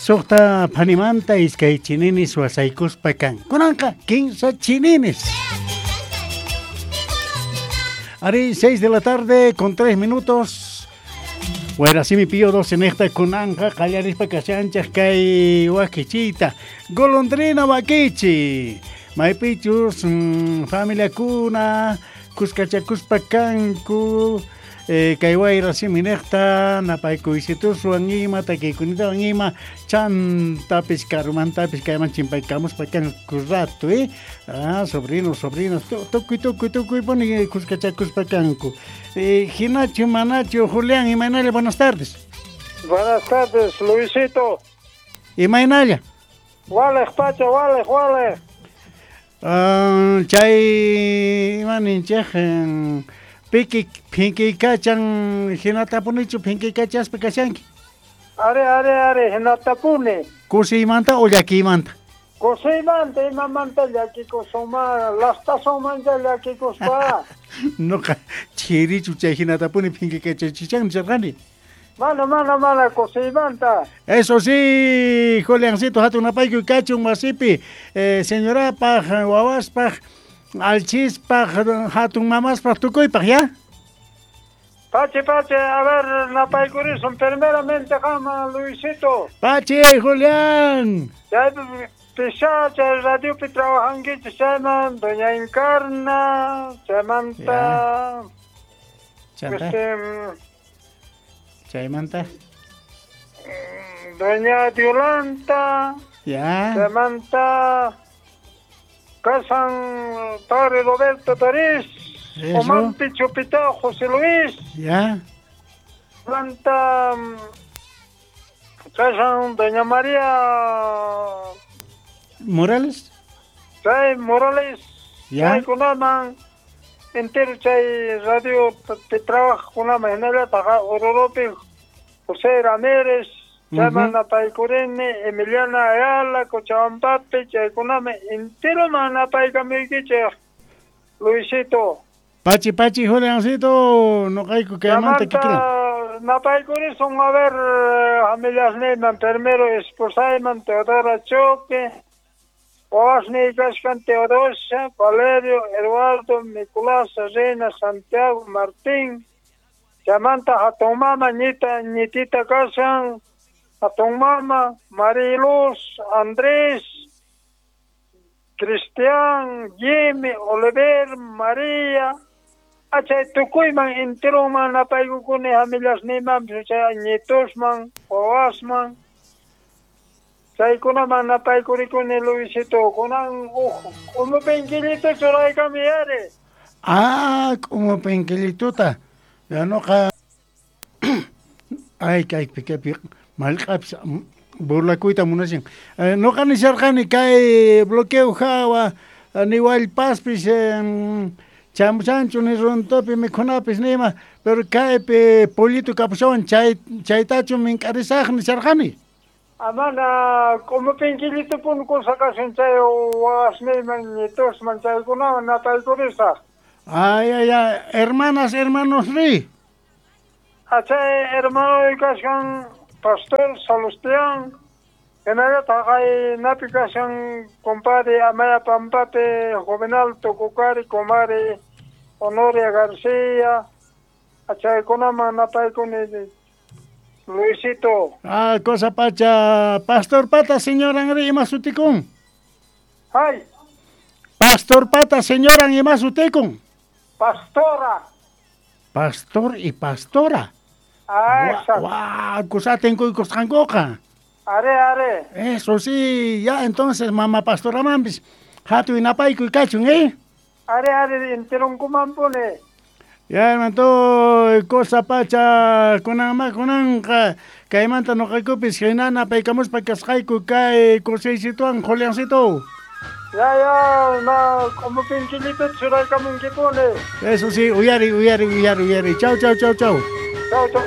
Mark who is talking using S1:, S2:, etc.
S1: Suqta phanimanta iskay chininis wasaykuspa kan. Kunanqa kinsa chininis. Ari, 6 de la tarde con 3 minutos. Wayrasimi Pío 12 nejta kunanqa qallarispa kashanchaj kay wakichiyta. Golondrina wakichi. Maypichus familiakuna kuskachakuspa kanku. Kay wayrasimi nejta napaykuysituswan ima takiykunatawan ima chantapis karumantapis kayman chimpaykamuspa kanku rato, Ah, sobrinos, sobrinas, tukuy, tukuy, tukuy puni kuskachakuspa kanku. Hinachu, manachu, Julián, imaynalla, buenas tardes.
S2: Buenas tardes, Luisito.
S1: Imaynalla.
S2: Walej pacha, walej, walej.
S1: Ah, chay ima ninchej piki phinkikachan hinatapunichu phinkikachaspa kashanki.
S2: Are, are, are, hinatapuni.
S1: Kusiymanta o llakiymanta?
S2: Kusiymanta, imamanta llakikusuma, lastasumanta llakikuspa.
S1: Noqa chirichu chay hinatapuni phinkikachachichan nisharqani.
S2: Mana, mana, mana, kusiymanta.
S1: Eso sí, Juliancito, hatun napaykuy kachun wasipi, señorapaj, wawaspaj, alchispaj, hatun mamaspaj, tukuypaj, ¿ya?
S2: Pachi, pachi, a ver, napaykurisun, primeramente qama, Luisito.
S1: Pachi, Julián.
S2: Chay pisha, chay radiopi trabajankichis chayman, doña Encarna, chaymanta.
S1: Chanta. Chaymanta.
S2: Doña Violanta.
S1: Ya.
S2: Chaymanta. Casan Padre Roberto Tarís. Omampi Chupita, José Luis.
S1: Ya.
S2: Planta Casan Doña María
S1: Morales.
S2: Chay Morales.
S1: Ya.
S2: Chaykunaman entero chay radio te trabaja kunaman hinallataq Ororopi José Ramírez, chayman napaykurini, Emiliana Ayala, Cochabambapi, chaykunaman enteroman napaykamuykichej, Luisito.
S1: Pachi, pachi, Juliancito, noqayku kaymanta kikiran.
S2: Napaykurisun, a ver, familiasniyman, primero esposayman, Teodora Choque, wawasniy kashkan Teodosia, Valerio, Eduardo, Nicolás, Reina, Santiago, Martín, chaymanta hatun mama, ñita, ñitita kashan, hatun mama, Mariluz, Andrés, Cristian, Jimmy, Oliver, María, achay tukuyman enteroman napaykukuni familiasniyman, chay ñitusman, wawasman, chaykunaman napaykurikuni, Luisito, kunan uj k'umupinkillito churaykami ari.
S1: Ah, k'umupinkillituta. Ya noqa ay kaypi kaypi mallq'apis burlakuyta munashan. Noqa nisharqani kay bloqueo hawa ni wallpaspis chamushanchu ni runtupi mikhunapis nima, pero kaypi pollito kapushawan chay chaytachu mink'arisaj nisharqani.
S2: Amana k'umupinkillito puni kusa kashan chay wawasniyman ñitusman chaykunawan napaykurisaj.
S1: Ay, ay, ay, hermanas, hermanos ri.
S2: Achay hermano kashan Pastor Salustián, hinallataq kay napi kashan compadre Amaya Pampapi, Juvenal Tucukari, comare Honoria García, achaykunaman napaykuni, Luisito.
S1: Ah, cosa pacha, Pastor Pata, señora ri, ima sutikun.
S2: Ay.
S1: Pastor Pata, señora ima sutikun.
S2: Pastora.
S1: Pastor y pastora.
S2: Ah, exacto.
S1: Guau, kusaten kuykusqankuqa.
S2: Are, are.
S1: Eso sí, ya entonces mamá pastora mampis, hatuy napaykuy kachun, ¿eh?
S2: Are, are, enteronkumanpuni.
S1: Ya, hermano, cosa pacha, kunanma, kunanqa, kaymanta noqaykupis hina napaykamuspa kasqayku kay kusiysituwan, Juliancito.
S2: Ya, ya, no, k'umupinkillito churaykamunkipuni.
S1: Eso sí, uyari, uyari, uyari, uyari. Chau, chau, chau, chau.
S2: Chau, chau.